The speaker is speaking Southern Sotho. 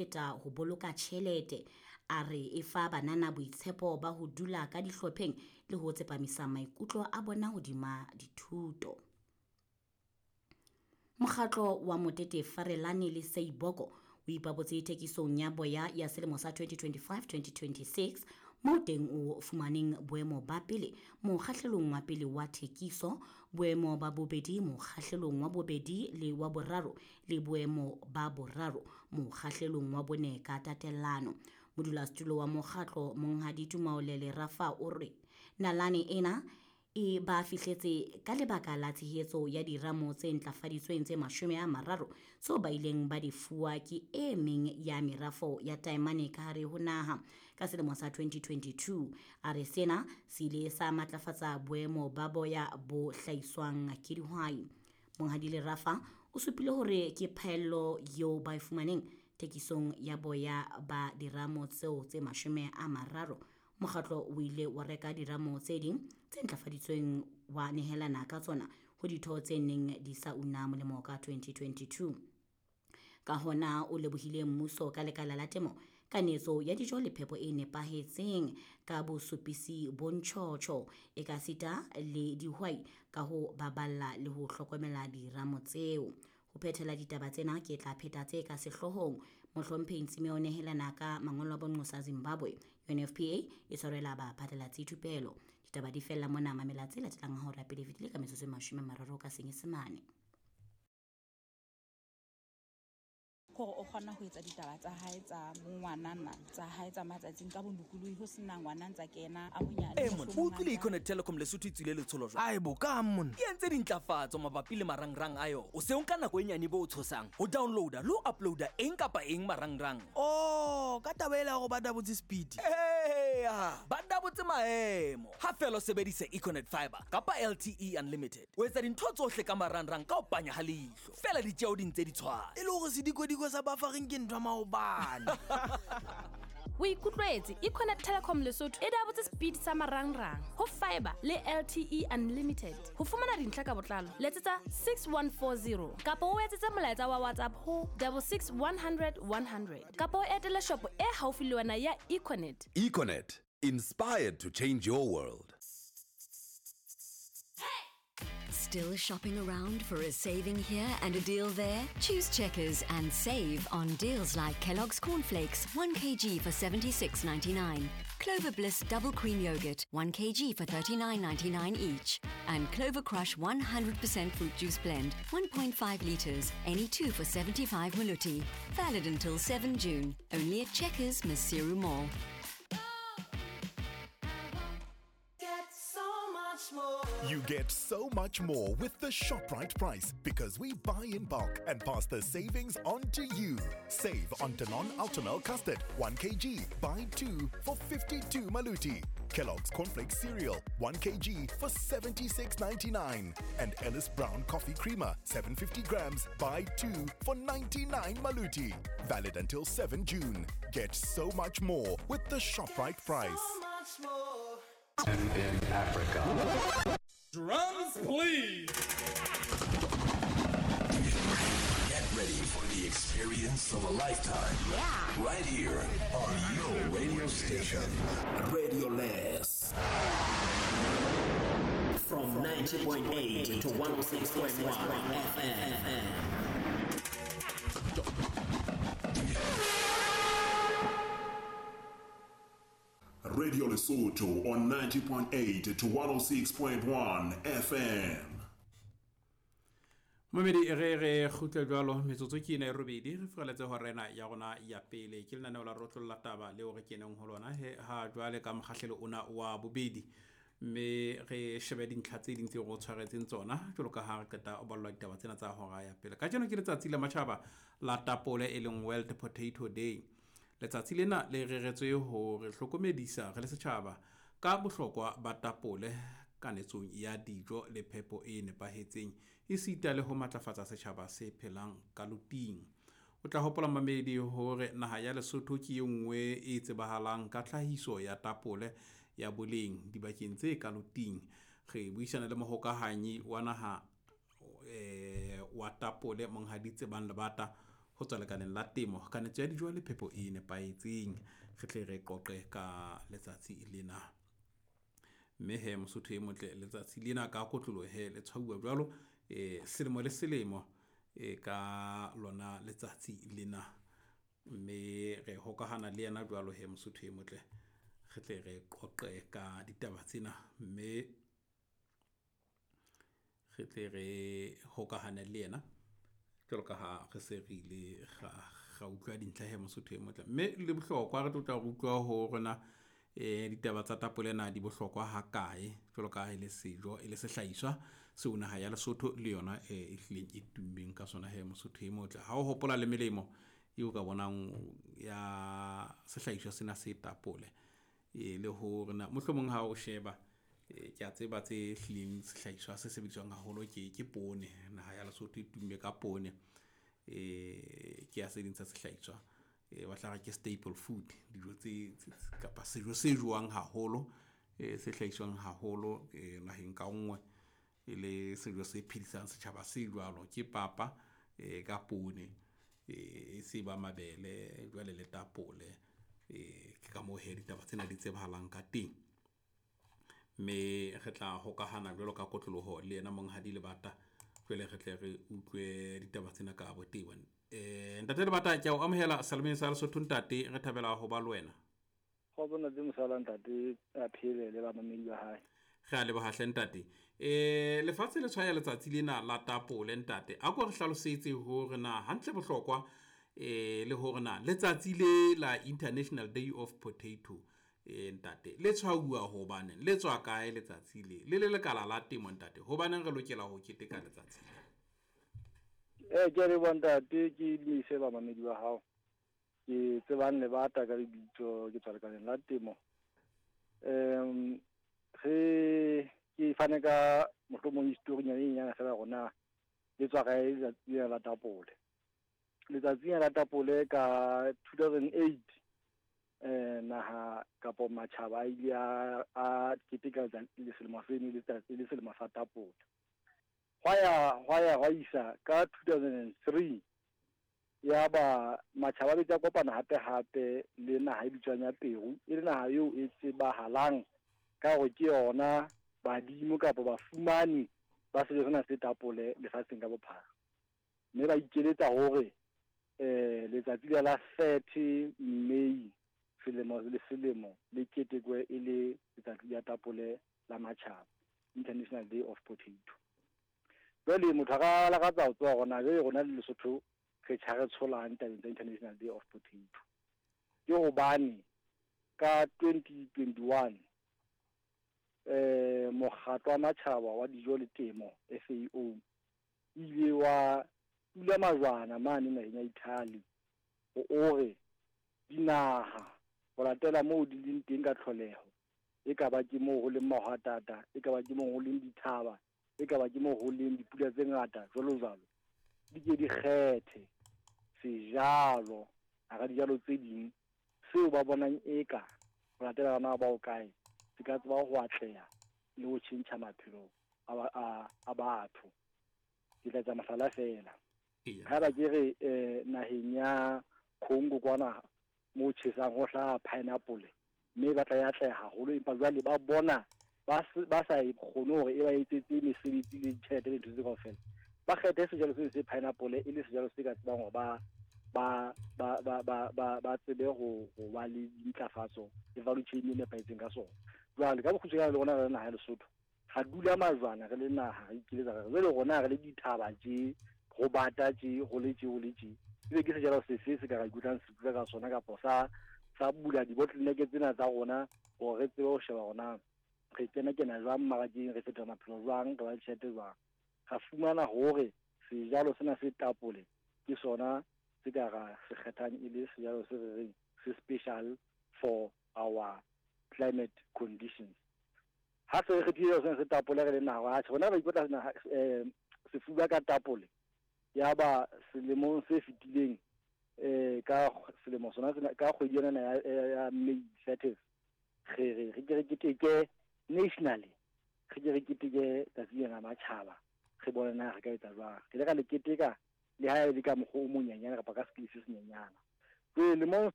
Feta ho boloka tjhelete. A re e fa banana boitshepo ba ho dula ka dihlopheng le ho tsepamisa maikutlo a bona hodima dithuto. Mokgatlo wa Motete Farelane le Seiboko o ipabotse thekisong ya boya ya selemo sa 2025-2026 moo teng o fumaneng boemo ba pele mokgahlelong wa pele wa thekiso, boemo ba bobedi mokgahlelong wa bobedi le wa boraro le boemo ba boraro mokgahlelong wa bone ka tatellano. Modulasetulo wa mokgatlo Monghadi Tumaolele Rafa o re nalane ena e ba fihletse ka lebaka la tshehetso ya diramo tse ntlafaditsweng tse 30 tseo ba ileng ba di fuwa ke e meng ya merafo ya taemane ka hare ho naha ka selemo sa 2022. A re sena se ile sa matlafatsa boemo ba boya bo hlahiswang ke dihwai. Monghadi Lerafa o supile hore ke phaello eo ba e fumaneng thekisong ya boya ba diramo tseo tse 30. Mokgatlo o ile wa reka diramo tse ding tse ntlafaditsweng wa nehelana ka tsona ho ditho tse neng di sa una molemo ka 2022. Ka hona o lebohile mmuso ka lekala la temo ka netso ya dijo le phepo e nepahetseng ka bosupisi bo ntjhotjho ekasita le dihwai ka ho baballa le ho hlokomela diramo tseo. Ho phethela ditaba tsena ke tla pheta tse ka sehloohong. Mohlomphehi Ntsime o nehelana ka mangolo a bonqosa Zimbabwe. UNFPA e tshwarela baphatlalatsi thupelo. Ditaba di fella mona, mamela tse latelang ha hora pele fetile ka metsotso e 30 ka Senyesemane. Kore o kgona ho etsa ditaba tsa hae tsa bongwanana tsa hae tsa matsatsing ka bolokolohi ho sena ngwana ntsa kena a monyane. Ee monna, o utlwile Econet Telecom Lesotho e tswile letsholo jwang? Ae bo, kang monna? E entse dintlafatso mabapi le marangrang a yona. O se o nka nako e nyane bo o tshosang ho downloada le ho uploada eng kapa eng marangrang. Oh, ka taba ela ya hore ba dabotse speed. Eya, ba dabotse maemo. Ha feela o sebedisa Econet Fiber kapa LTE Unlimited, o etsa dintho tsohle ka marangrang ka ho panya ha leihlo. Feela ditjeo di ntse di tshwana. E le hore sedikodiko sa buffering ke ntho ya maobane. O ikutlwetse, Econet Telecom Lesotho e dabotse speed sa marangrang ho fiber le LTE Unlimited. Ho fumana dintlha ka botlalo, letsetsa 6140 kapa o etsetse molaetsa wa WhatsApp ho 66 100 100 kapa o etele shopo e haufi le wena ya Econet. Econet, inspired to change your world. Still shopping around for a saving here and a deal there? Choose Checkers and save on deals like Kellogg's Cornflakes, 1 kg for 76.99, Clover Bliss Double Cream Yogurt, 1 kg for 39.99 each, and Clover Crush 100% Fruit Juice Blend, 1.5 litres, any two for 75 maluti. Valid until 7 June, only at Checkers, Maseru Mall. You get so much more with the ShopRite price because we buy in bulk and pass the savings on to you. Save on Danone Ultimel Custard, 1 kg, buy 2 for 52 Maluti. Kellogg's Cornflakes Cereal, 1 kg for 76.99. And Ellis Brown Coffee Creamer, 750 grams, buy 2 for 99 Maluti. Valid until 7 June. Get so much more with the ShopRite price. In Africa. Drums, please. Get ready for the experience of a lifetime. Yeah. Right here on your radio station. Radio Less. From 90.8 to 106.1 FM. Radio Lesotho on 90.8 to 106.1 FM. Momedi re re kgutle jwalo metsotso ke ena e robedi re furaletse horena ya rona ya pele ke lenaneo la rotlolla taba leo re keneng ho lona he ha jwale ka mokgahlelo ona wa bobedi mme re shebe dintlha tse ding tseo re o tshwaretseng tsona jwalo ka ha re qeta o ballwa ditaba tsena tsa hora ya pele. Kajeno ke letsatsi la matjhaba la tapole e leng World Potato Day. Letsatsi lena le reretswe ho re hlokomedisa re le setjhaba ka bohlokwa ba tapole kanetsong ya dijo le phepo e nepahetseng esita le ho matlafatsa setjhaba se phelang ka loting. O tla hopola mamedi hore naha ya Lesotho ke e nngwe e tsebahalang ka tlhahiso ya tapole ya boleng dibakeng tse ka loting. Re buisana le mohokahanyi wa naha wa tapole Monghadi Tsebang Lebata ho tswa lekaleng la temo, kanetso ya dijo le phepo e nepahetseng. Re tle re qoqe ka letsatsi lena. Mme he Mosotho e motle, letsatsi lena ka kotloloho he le tshwauwa jwalo selemo le selemo ka lona letsatsi lena. Mme re hokahana le yena jwalo he Mosotho e motle, re tle re qoqe ka ditaba tsena. Mme re tle re hokahane le yena jwalo ka ha re se re ile ra utlwa dintlha he Mosotho e motle. Mme le bohlokwa re tlo tla re utlwa ho rona ditaba tsa tapole na di bohlokwa hakae, jwalo ka ha e le sejo, e le sehlahiswa seo naha ya Lesotho le yona e hlileng e tummeng ka sona he Mosotho e motle. Ha o hopola le melemo eo ka bonang ya sehlahiswa sena se tapole, le hore na mohlomong ha o sheba ke a tseba tse hlileng sehlahiswa se sebediswang haholo ke poone. Naha ya Lesotho e tumme ka poone, ke ya se ding tsa sehlahiswa ba tla re ke staple food, dijo tse kapa sejo se jowang haholo, se hlahiswang haholo naheng ka nngwe, e le sejo se phedisang setjhaba se jwalo. Ke papa ka poone, e se ba mabele jwale le tapole. Ke ka moo he ditaba tsena di tsebahalang ka teng. Mme re tla hokahana jwalo ka kotloloho le yena Monghadi Lebata, jwale re tle re utlwe ditaba tsena ka botebo. Ntate Lebata, ke a o amohela Salemeng sa Lesotho ntate, re thabela ho ba le wena. Kgotso ntate Mosala, ntate a phele le bamamedi ba hae. Re a leboha hle ntate. Lefatshe le tshwaya letsatsi lena la tapole ntate. A ko re hlalosetse hore na hantle bohlokwa le hore na letsatsi le la International Day of Potato ntate le tshwauwa hobane le tswa kae letsatsi le? Le le lekala la temo ntate, hobaneng re lokela ho keteka letsatsi le? Ke a leboha ntate, ke dumedise bamamedi ba hao. Ke tsebang Lebata ka lebitso, ke tswa lekaleng la temo. Re ke fane ka mohlomong histori nyana e nyenyane fela hore na le tswa kae letsatsi lena la tapole. Letsatsi lena la tapole ka 2008 naha kapo matjhaba a ile a keteka le selemo seno letsatsi le selemo sa tapole. Hwa ya hwa isa ka 2003 ya ba matjhaba a betse a kopana hape hape le naha e bitswang ya Peru, e le naha eo e tsebahalang ka hore ke yona badimo kapa bafumani ba sejo sena se tapole lefatsheng ka bophara. Mme ba ikeletsa hore letsatsi la la 30 May selemo le selemo le ketekwe e le letsatsi la tapole la matjhaba, International Day of Potato. Jwale motho a ka lakatsa ho tseba hore na jwale rona le Lesotho re tjha re tsholang tabeng tsa International Day of Potato. Ke hobane ka 2021 mokgatlo wa matjhaba wa dijo le temo FAO ile wa tula majwana mane naheng ya Italy ho ore dinaha ho latela moo di leng teng ka tlholeho, e ka ba ke moo ho leng mahwatata, e ka ba ke moo ho leng dithaba, e ka ba ke moo ho leng dipula tse ngata jwalo jwalo, di ke di kgethe sejalo hara dijalo tse ding seo ba bonang eka ho latela bana ba kae se ka tseba ho atleha le ho tjhentjha maphelo a batho. Ke tla etsa mohlala fela. Haeba ke re naheng ya Congo kwana mo tjhesang ho hlaha pineapple, mme ba tla e atleha haholo, empa jwale ba bona ba sa e kgone hore e ba etsetse mesebetsi le ditjhelete le ntho tse kaofela. Ba kgethe sejalo se se pineapple e le sejalo se ka tsebang hore ba tsebe ho ba le dintlafatso le value chain e nepahetseng ka sona. Jwale ka bokgutshwanyane le rona re le naha ya Lesotho, ra dula majwana re le naha, re ikeletsa re jwale rona re le dithaba tje, ho bata tje, ho le tje, ho le tje. Ebe ke sejalo sefe se ka ra ikutlwang sefuba ka sona kapa sa bula di-bottleneck tsena tsa rona hore re tsebe ho sheba hore re kena jwang mmarakeng, re fetola maphelo jwang, re ba le tjhelete jwang. Ra fumana hore sejalo sena se tapole ke sona se ka ra se kgethang e le sejalo se re reng se special for our climate conditions. Ha se re kgethile sena se tapole re le naha, atjhe rona re ikotla sefuba ka tapole. Ya ba selemong se fetileng ka selemo sona sena ka kgwedi yona ya May 30 re re ke re keteke nationally, re ke re keteke tsatsi lena la matjhaba, re bone na re ka etsa jwang. Re ile ra le keteka Le ha e le ka mokgwa o monyenyane kapa ka skill se senyenyana. Jwale lemong